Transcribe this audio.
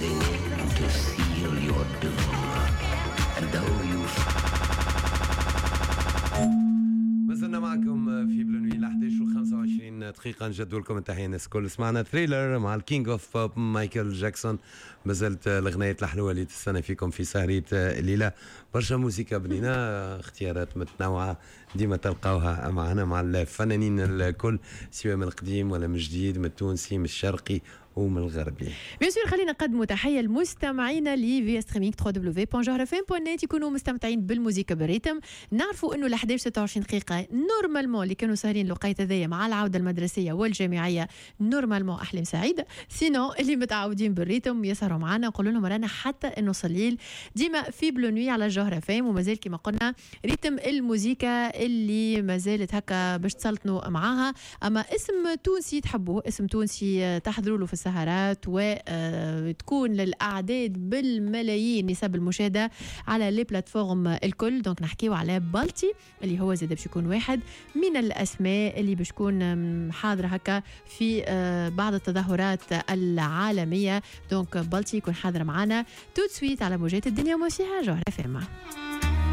closing in to seal your doom. And though you ما زلنا معكم في Bleu Nuit ل 11 و 25 دقيقة. نجدوا لكم التحية الناس الكل. سمعنا Thriller مع ال King of Pop مايكل جاكسون. مازالت الغناية الحلوة اللي تستنى فيكم في سهرية الليلة. برشا موسيقى بنينة، اختيارات متنوعة ديما تلقاوها معنا مع الفنانين الكل، سواء من القديم ولا من الجديد، من التونسي، من الشرقي ومن الغربي. bien sûr خلينا نقدموا تحية لمستمعينا اللي via streaming www.jawharafm.net يكونوا مستمتعين بالموسيقى بال rythme. نعرفوا انه ل 11 26 دقيقة normalement اللي كانوا ساهرين الوقيت هذايا مع العودة المدرسية والجامعيه normalement احلام سعيده، sinon اللي متعودين بال rythme يسهروا معنا نقول لهم رانا حتى النص الليل ديما في Bleu Nuit على الجوهرة FM. ومازال كما قلنا rythme الموسيقى اللي ما زالت هكا باش تسلطنوا معاها. اما اسم تونسي تحبوه، اسم تونسي تحضروا له في السهرات وتكون للاعداد بالملايين نسب المشاهدة على les plateformes الكل. donc نحكيو على بلطي اللي هو زاد باش يكون واحد من الاسماء اللي باش تكون حاضره هكا في بعض التظاهرات العالميه. donc بلطي يكون حاضر معنا tout de suite على موجات الدنيا وما فيها جوهرة FM.